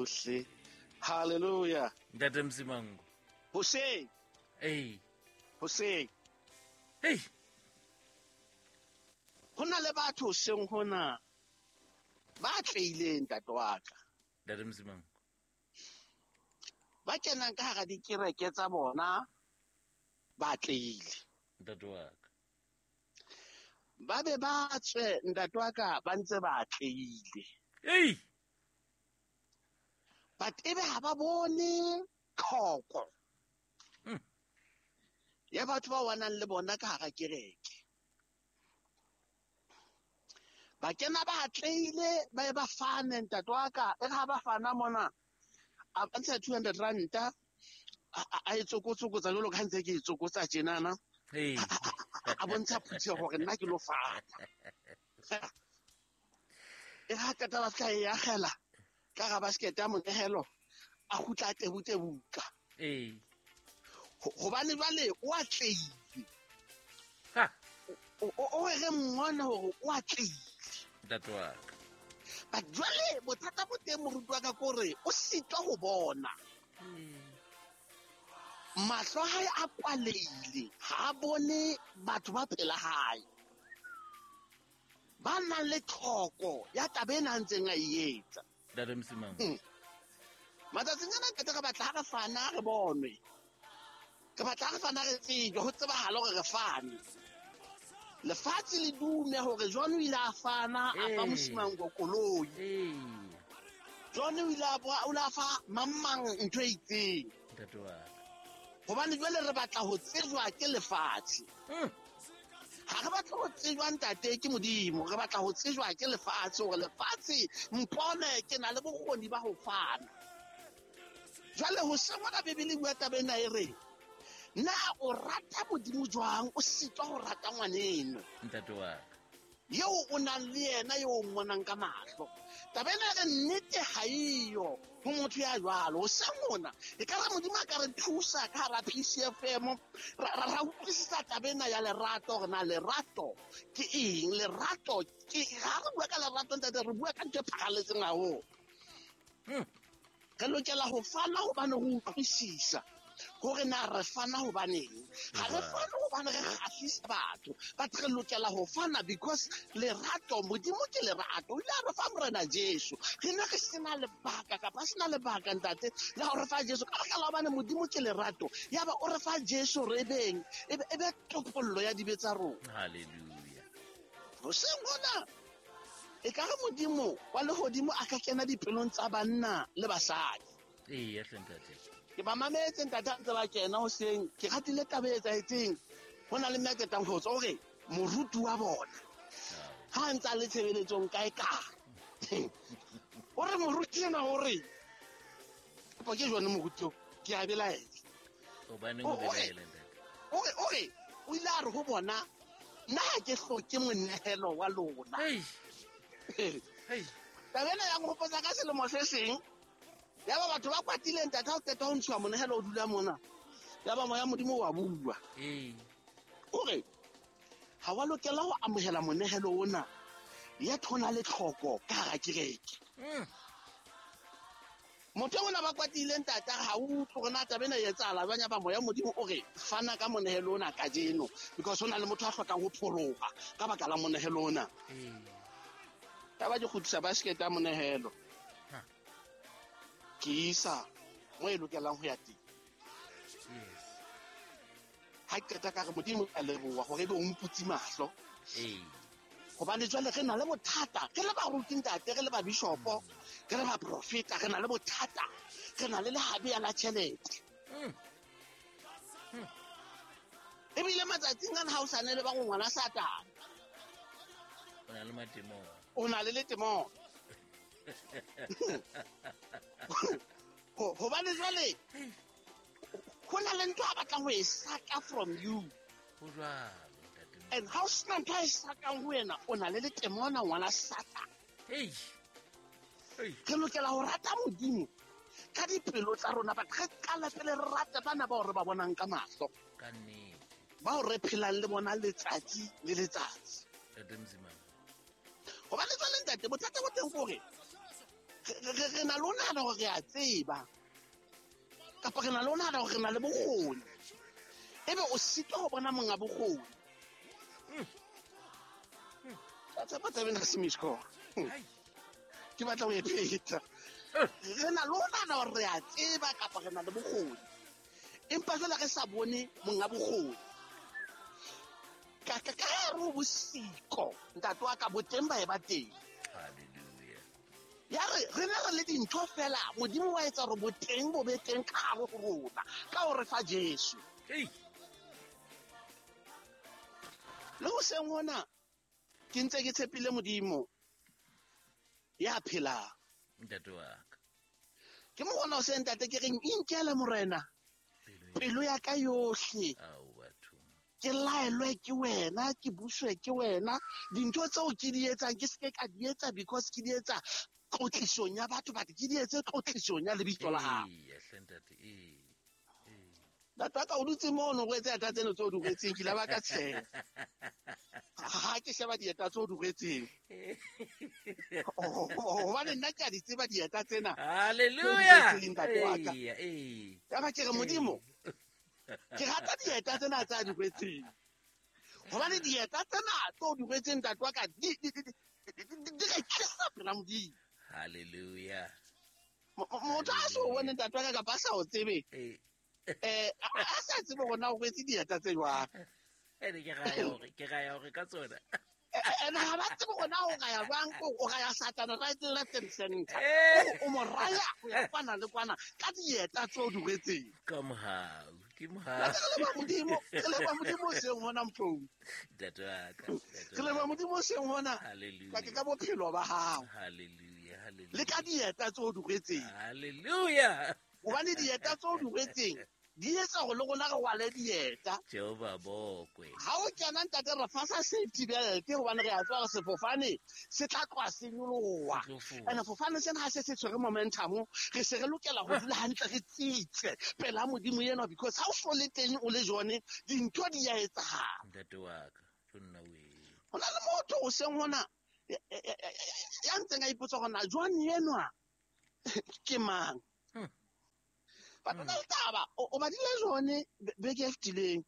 Yohle. Hallelujah. Ntate Msimango. Hoseng. Ee. Hoseng. Hey. Ho na le batho hoseng hona ba tleileng ntate wa ka. Ntate Msimango. Ba kenang ka hara dikereke tsa bona ba tleile. Ntate wa ka. Ba be ba tswe ntate wa ka ba ntse ba tleile. Hey. But ebe ha ba bone tlhoko ya batho ba wanang le bona ka hara kereke. Ba kena ba atleile ba ye ba fane ntate wa ka, e re ha ba fana mona a ba ntsha 200 ranta a e tsokotsokotsa jwalo ka ntse ke e tsokotsa tjenana. A bontsha phutheho hore nna ke lo fana. E ha qeta ba fihla e akgela ka ga basket ya monehelo, a kgutla a tebutebuka. Hobane jwale o atleile. O re mmone hore o atleile. Ntate wa ka. But jwale bothata bo teng moruti wa ka ke hore o sitwa ho bona. Mahlo a hae a kwalehile, ha a bone batho ba pela hae. Ba nang le tlhoko ya taba ena a ntseng a e etsa. Ntate Msimang. Matsatsing ana ntate re batla ha re fana re bonwe. Re batla ha re fana re tsejwe, ho tsebahale hore re fane. Lefatshe le dume hore John o ile a fana, a fa Mosimango koloi. John o ile a o ile a fa mang mang ntho e itseng. Ntate wa ka. Hobane jwale re batla ho tsejwa ke lefatshe. Ha re batle ho tsejwa ntate ke Modimo, re batla ho tsejwa ke lefatshe hore lefatshe mpone ke na le bokgoni ba ho fana. Jwale ho sengwa Bibele e bua taba ena e re, na o rata Modimo jwang o sitwa ho rata ngwaneno? Ntate wa ka. Eo o nang le yena eo o mmonang ka mahlo. Taba ena e re nnete ha eyo ho motho ya jwalo. Ho seng hona, e ka re Modimo a ka re thusa ka hara PCFM, ra utlwisisa taba ena ya lerato, hore na lerato ke eng. Lerato ke, ha re bua ka lerato ntate, re bua ka ntho e pharalletseng haholo. Re lokela ho fana hobane re utlwisisa hore na re fana hobaneng. Ha re fane hobane re kgahlisa batho, but re lokela ho fana because lerato, Modimo ke lerato. O ile a re fa Morena Jesu. Re ne re sena lebaka kapa sena lebaka ntate la ho re fa Jesu. Ka baka la hobane Modimo ke lerato, yaba o re fa Jesu re beng, e be topollo ya dibe tsa rona. Hallelujah. Hoseng hona e ka re Modimo wa lehodimo a ka kena dipelong tsa banna le basadi. Ee, hle ntate. Ke ba mametse ntate a ntse ba kena hoseng, ke ratile taba e etsahetseng. Ho na le mme a qetang ho tswa hore moruti wa bona ha a ntse a le tshebeletsong kae kae. O re moruti ena o re, kopa ke jone moruti o, ke a belaela. Hobaneng o belaela ntate? O re, o ile a re ho bona, nna ha ke hloke monehelo wa lona. Hey. Hey. Taba ena ya nkgopotsa ka selemo se seng. Yaba batho ba kwatile ntate ha o qeta ho ntshiwa monehelo o dula mona. Yaba moya Modimo wa bua. O re, ha wa lokela ho amohela monehelo ona. Ya thona le tlhoko ka hara kereke. Motho ona ba kwatile ntate ha o utlwe hore na taba ena e etsahala jwang, yaba moya Modimo o re fana ka monehelo ona kajeno because ho na le motho a hlokang ho pholoha ka baka la monehelo ona. Taba ke kgutlisa basket ya monehelo. Ke isa mo e lokelang ho ya teng. Ha ke qeta ka re Modimo a leboha hore ebe o mputse mahlo. Hobane jwale re na le bothata, re le baruti ntate, re le ba bishopo, re le ba profeta, re na le bothata, re na le lehabe ya la tjhelete. Ebile matsatsing ana ha o sa ne le ba ngwana Satane. O na le matemona. O na le letemona. Hobane jwale ho na le ntho a batlang ho e saka from you. Ho jwalo, ntate. And ha o sena ntho a e sakang ho wena, o na le letemona ngwana Satane. Hey. Hey. Re lokela ho rata Modimo ka dipelo tsa rona, but re qala pele re rate bana bao re ba bonang ka mahlo. Ka nnete. Bao re phelang le bona letsatsi le letsatsi. Ntate Mzimane. Hobane jwale ntate, bothata bo teng ke hore Re na le ho nahana hore re a tseba, kapa re na le ho nahana hore re na le bokgoni, ebe o sitwa ho bona monga bokgoni. Tshepa taba ena se mishko. Ke batla ho e pheta. Re na le ho nahana hore re a tseba kapa re na le bokgoni, empa jwale re sa bone monga bokgoni. Ka hare ho bosiko, ntate wa ka, boteng ba e ba teng. Hallelujah. Ya re ne re le dintho fela, Modimo wa etsa hore boteng bo be teng ka hare ho rona, ka hore fa Jesu. Le hoseng hona, ke ntse ke tshepile Modimo ya phelang. Ntate wa ka. Ke mo bona hoseng, ntate, ke reng inkele Morena pelo ya ka yohle. Ke laelwe ke wena, ke buswe ke wena. Dintho tseo ke di etsang ke seke ka di etsa because ke di etsa tlotlisong ya batho, but ke di etse tlotlisong ya lebitso la hao. Ntate wa ka o dutse mono, o rwetse dieta tseno tseo o di rwetseng, ke ile ba ka tsheha. Ha ke sheba dieta tseo o di rwetseng. Hobane nna ke a di tseba dieta tsena. Hallelujah. Ntate wa ka. Ya ba ke re Modimo, ke rata dieta tsena tsa di rwetseng. Hobane dieta tsena tseo di rwetseng, ntate wa ka, di re tlisa pela Modimo. Hallelujah. Motho a so bone ntate wa ka kapa a sa o tsebe. A sa tsebe hore na o rwetse dieta tse jwang. Ene ke raya hore ka tsona. Ene ha ba tsebe hore na o raya jwang, o raya Satane right, left and center. O mo raya ho ya kwana le kwana ka dieta tseo di rwetseng. Ka mohau, ke mohau. Re leboha Modimo, re leboha Modimo hoseng hona, Mphou. Ntate wa ka, Re leboha Modimo hoseng hona. Hallelujah. Ka bophelo ba hao. Hallelujah, hallelujah. Le ka dieta tseo di rwetseng. Hallelujah. Hobane dieta tseo di rwetseng di etsa hore le rona re rwale dieta. Jehova bokwe. Ha o kena ntate re fasa safety belt hobane re a tseba hore sefofane se tla tloha se nyoloha. And sefofane sena ha se se tshwere momentum, re se re lokela ho dula hantle re tsitse pela Modimo enwa, because ha o so le teng o le jone, dintho di a etsahala. Ntate wa ka, tlo nna wee. Ho na le motho o seng hona ya ntseng a ipotsa hore na John enwa ke mang? Batho ba taba o badile jone beke e fetileng.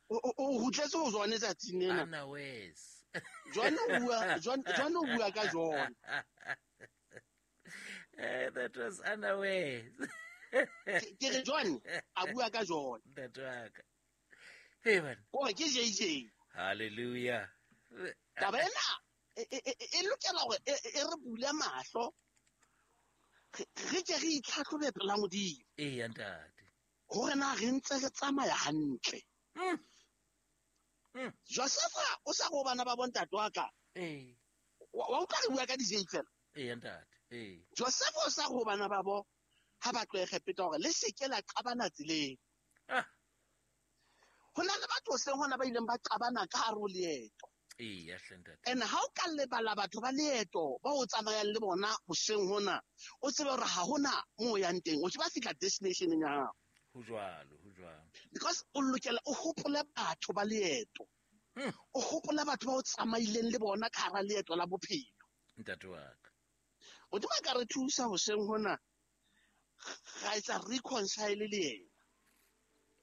O rutletse ho jone tsatsing lena. Ana wes. John o bua ka John. That was Anna Wes. Ke re John a bua ka John. Ntate wa ka. Hey man. O ke JJ. Hallelujah. Taba ena e lokela hore e re bule mahlo. Re ke re itlhatlhobe pela Modimo. Ee, ntate. Hore na re ntse re tsamaya hantle. Josefa o sa go bana ba bontate wa ka. Ee. Wa utlwa re bua ka di-J fela. Ee, ntate. Ee. Josefa o sa go bana ba bo ha ba tlohe Egepeta hore le se ke la qabana tseleng. Ho na le batho hoseng hona ba ileng ba qabana ka hare ho leeto. Ee, ntate. And ha o ka lebala batho ba leeto ba o tsamayang le bona hoseng hona, o tsebe hore ha hona moo o yang teng, o tse ba fihla destination-eng ya hao. Ho jwalo, ho jwalo. Because o lokela o hopole batho ba leeto. O hopole batho ba o tsamaileng le bona ka hara leeto la bophelo. Ntate wa ka. Modimo a ka re thusa hoseng hona, ra etsa reconcile le yena.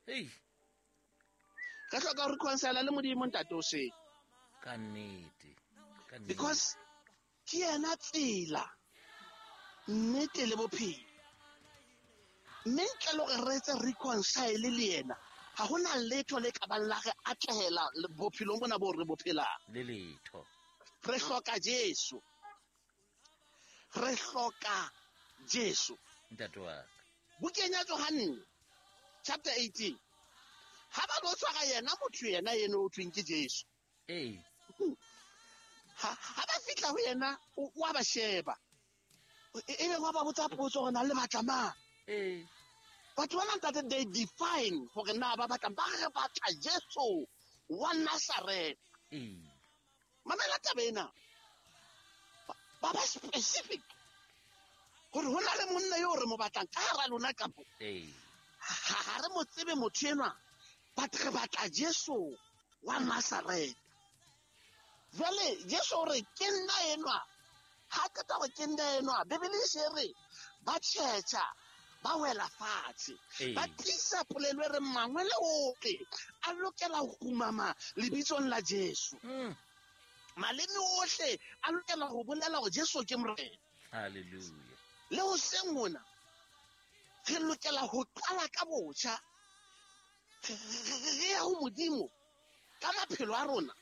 Hey. Re hloka ho reconcile le Modimo ntate hoseng. Ka nnete. Ka nnete. Because ke yena tsela, nnete le bophelo. Mme ntle le hore re etse reconcile le yena, ha hona letho le ka bang la re atlehela bophelong bona bo re bo phelang. Le letho. Re hloka Jesu. Re hloka Jesu. Ntate wa ka. Bukeng ya Johanne chapter 18. Ha ba lo tshwara yena motho yena eno o thweng ke Jesu. Ee. Ha ba fihla ho yena, o a ba sheba. E be wa ba botsa potso hore na le batla mang. Ee. Batho bana ntate, they define hore na ba batlang, ba re batla Jesu wa Nazareth. Ee. Mamela taba ena. Ba ba specific hore ho na le monna eo re mo batlang ka hara lona kapo. Ee. Ha re mo tsebe motho enwa, but re batla Jesu wa Nazareth. Jwale Jesu o re ke nna enwa Ha qeta hore ke nna enwa, Bibele e se re ba tjhetjha, ba wela fatshe. Ba tlisa polelo e reng mangwele ohle a lokela ho kgumama lebitsong la Jesu. Maleme ohle a lokela ho bolela hore Jesu ke Morena. Hallelujah. Le hoseng hona re lokela ho qala ka botjha, re ya ho Modimo ka maphelo a rona,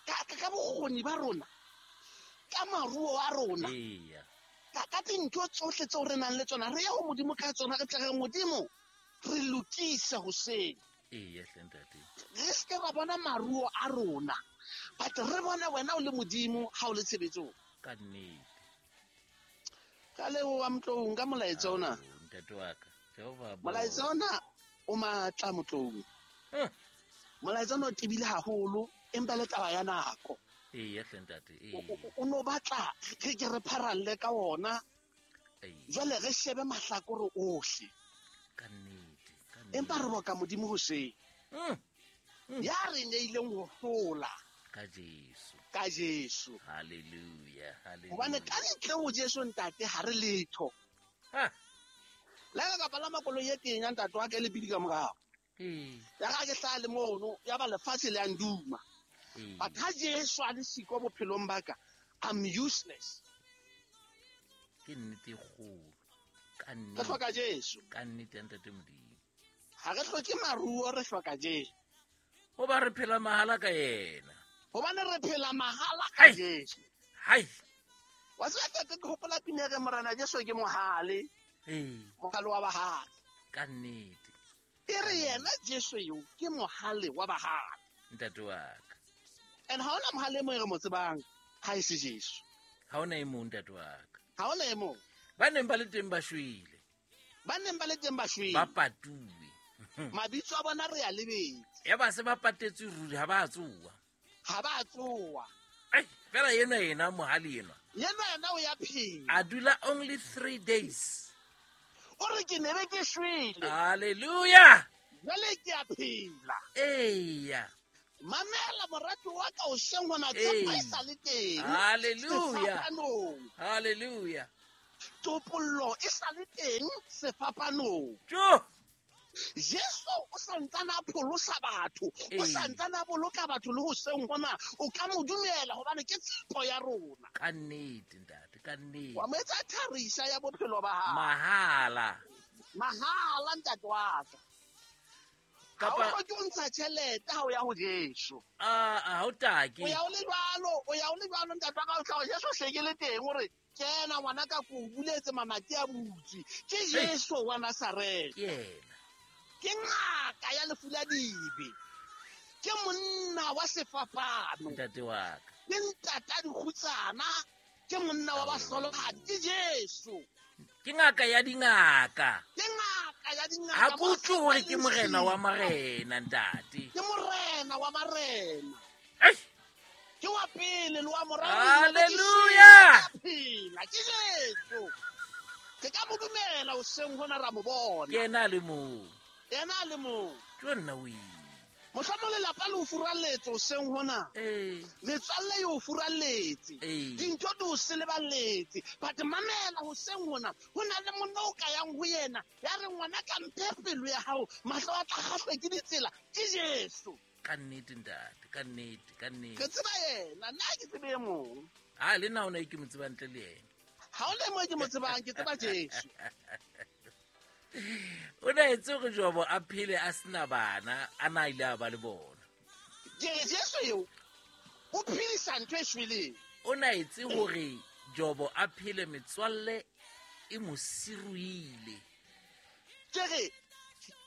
ka bokgoni ba rona, ka maruo a rona, ka dintho tsohle tseo re nang le tsona, re ya ho Modimo ka tsona, re tla re Modimo re lokise hoseng. Re se ke ra bona maruo a rona, but re bone wena o le Modimo ha o le tshebetsong. Ka nnete. Ka leboha Motloung ka molaetsa ona. Ntate wa ka, Jehova. Molaetsa ona o matla Motloung. Molaetsa ona o tebile haholo, empa le taba ya nako. Eya hle ntate, O no batla re ke re pharalle ka ona. Jwale re shebe mahlakore ohle. Ka nnete, ka nnete. Empa re boka Modimo hoseng. Ya re neileng ho hlola. Ka Jesu. Ka Jesu. Hallelujah, hallelujah. Hobane ka ntle ho Jesu ntate ha re letho. Le ka kapa la makoloi e teng ya ntate wa ka le pidi ka morao. Ya ka ke hlaha le mono, ya ba lefatshe le a nduma. But ha Jesu a le siko bophelong ba ka, I'm useless. Ke nnete e kgolo. Ka nnete. Re hloka Jesu. Ka nnete ya ntate Modimo. Ha re hloke maruo, re hloka Jesu. Hoba re phela mahala ka yena. Hobane re phela mahala ka Jesu. Hai. Wa tseba ntate, ke hopola pina e re Morena Jesu ke mohale. Mohale wa bahale. Ka nnete. E re yena Jesu eo ke mohale wa bahale. Ntate wa ka. And ha hona mohale e mong e re mo tsebang ha e se Jesu. Ha hona e mong ntate wa ka. Ha hona e mong. Ba neng ba le teng ba shwele. Ba neng ba le teng ba shwele. Ba patuwe. Mabitso a bona re a lebetse. Ya ba se ba patetswe ruri ha ba tsoa. Ha ba tsoa. Ai, fela yena yena mohale enwa. Yena yena o ya phela. A dula only 3 days. O re ke ne be ke shwele. Hallelujah. Jwale ke a phela. Eya. Mamela morati wa ka hoseng hona tshepo e sa le teng. Hallelujah. Sefapanong. Hallelujah. Topollo e sa le teng sefapanong. Jo. Jesu o santsana a pholosa batho, o santsana a boloka batho le hoseng hona, o ka mo dumela hobane ke tshepo ya rona. Ka nnete ntate, ka nnete. Wa mo etsa tharisa ya bophelo ba hao. Mahala. Mahala ntate wa ka. Kapa ha o hloke ho ntsha tjhelete ha o ya ho Jesu. Ha o take. O ya o le jwalo, o ya o le jwalo ntate wa ka, o tla ho Jesu hleke le teng hore kena ngwana ka ko buletse mamati a butse. Ke Jesu wa Nazareth. Ke yena. Ke ngaka ya lefu la dibe. Ke monna wa sefapano. Ntate wa ka. Ke ntata dikgutsana, ke monna wa bahlolohadi, ke Jesu. Ke ngaka ya dingaka. Ke ngaka ya dingaka. Ha ke utlwe hore ke morena wa marena ntate. Ke morena wa marena. Ei. Ke wa pele le wa morao. Hallelujah. Phela ke Jesu. Ke ka mo dumela hoseng hona ra mo bona. Ke yena a le mong. Yena a le mong. Ke nna o ile. Mohlomong lelapa le o furalletse hoseng hona. Metswalle e o furalletse. Dintho di o seleballetse. But mamela hoseng hona, ho na le monna o ka yang ho yena. Ya re ngwana ka mphe pelo ya hao, mahlo a tla kgahlwe ke ditsela. Ke Jesu. Ka nnete ntate, ka nnete, ka nnete. Ke tseba yena, nna ke tsebe e mong. Ha le nna ona e ke mo tsebang ntle le yena. Ha o le mo ke mo tsebang, ke tseba Jesu. O na etse hore Jobo a phele a sena bana, a na ile a ba le bona. Jesu eo o phedisa ntho e shweleng. O na etse hore Jobo a phele metswalle e mo siruile. Ke re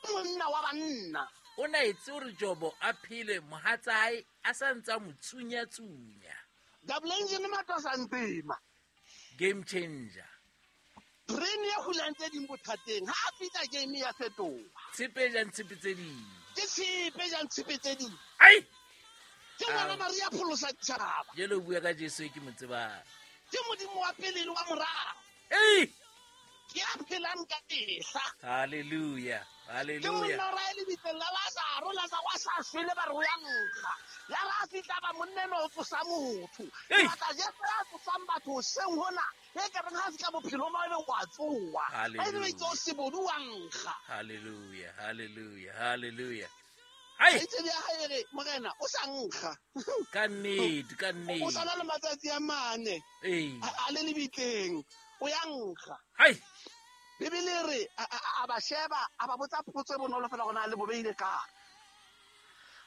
monna wa banna. O na etse hore Jobo a phele mohatsa hae a sa ntsa mo tsunya-tsunya. Double engine matwasa ntema. Game changer. Brain ya hulang tse ding bothateng. Ha a fihla game ya fetoha. Tshepe jang tshepe tse ding. Ke tshepe jang tshepe tse ding. Ai! Ke ngwana Maria pholosa ditjhaba. Jwale o bua ka Jesu e ke mo tsebang. Ke Modimo wa pele le wa morao. Ei! Ke a phelang nkgang ka mehla. Halleluja, Ke halleluja. monna o rae lebitleng la Lazaro, Lazaro a sa shwele ba re o ya nkga. Ya re a fihla ba monna enwa o tsosa motho. Ke Ei. batla Jesu ya tsosang batho hoseng hona, e ka reng ha a fihla bophelong ba ebe wa tsoha. Ba ebe ba itse o sebodu wa nkga. Halleluja, halleluja, halleluja. Hai, Kgaitsedi ya hae e re, Morena, o sa nkga. ka nnete, ka O nnete. sa na le matsatsi a mane Ee. a le lebitleng, o ya nkga. Hai, Bibele e re a ba sheba, a ba botsa potso e bonolo fela gore na le bo beile kae.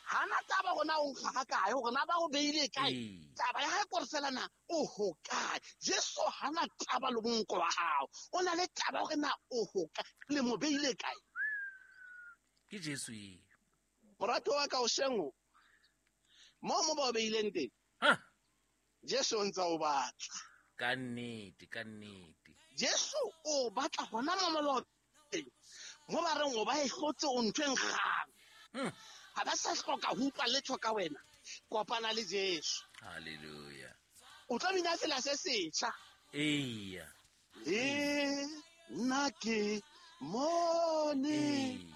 Hana taba gore na o nkga ga kae, gore na ba o beile kae. Ee. Taba ya hae kore fela na o ho kae. Jesu hana taba le monko wa hao, o na le taba hore na o ho kae, le mo beile kae. Ke Jesu eo. Morato wa ka o shengo, mo ba o beileng teng, Ha, Jesu o ntse a o batla. ka nnete, ka nnete. Jesu o batla hona mo mo ba o teng, mo ba reng o ba e hlotse o ntho e nkgang. Ha ba sa hloka ho utlwa letho ka wena, kopana le Jesu. Halleluja. O tlo bina tsela se setjha. Eya. Le nna ke mone Ee.